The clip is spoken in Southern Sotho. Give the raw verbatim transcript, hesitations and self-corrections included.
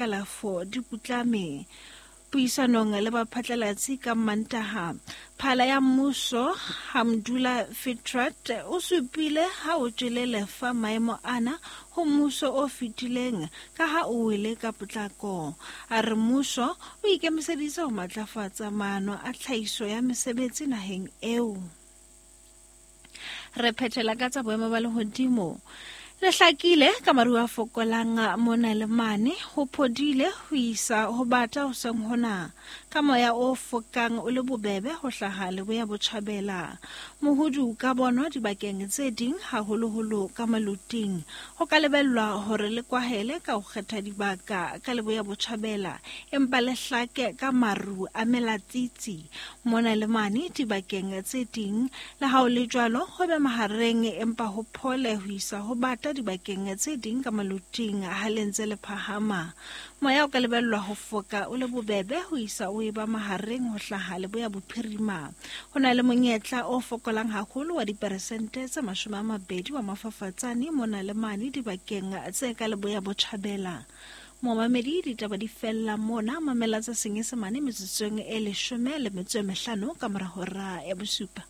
Kalafo di putlame. Puisanong le baphatlalatsi ka Mantaha, phala ya mmuso Hamdullah Fitrat o supile ha o tjele lefa maemo ana ho mmuso o fetileng ka ha o wele ka potlako. A re mmuso o ikemiseditse ho matlafatsa maano a tlhahiso ya mesebetsi naheng eo. Re phethela ka tsa boemo ba lehodimo. Le hlakile ka maru a fokolang mona le mane, ho phodile ho isa ho bata hoseng hona, ka moya o fokang o le bobebe ho hlaha leboya botjhabela. Mohudu ka bonwa dibakeng tse ding haholoholo ka maluting. Ho ka lebellwa hore le kwahele ka ho kgetha dibaka ka leboya botjhabela, empa le hlake ka maru a melatsitsi mona le mane dibakeng tse ding. Le ha ho le jwalo, ho be mahareng empa ho phole ho isa ho bata dibakeng tse ding ka maluting ha le ntse le phahama. Moya o ka lebellwa ho foka o le bobebe ho isa o eba mahareng ho hlaha leboya bophirima. Ho na le monyetla o fokolang haholo wa diperesente tse mashome a mabedi wa mafafatsane mona le mane dibakeng tse ka leboya botjhabela. Momamedi, ditaba di fella mona. Mamela tsa Senyesemane metsotsong e leshome le metso e mehlano ka mora hora ya bosupa.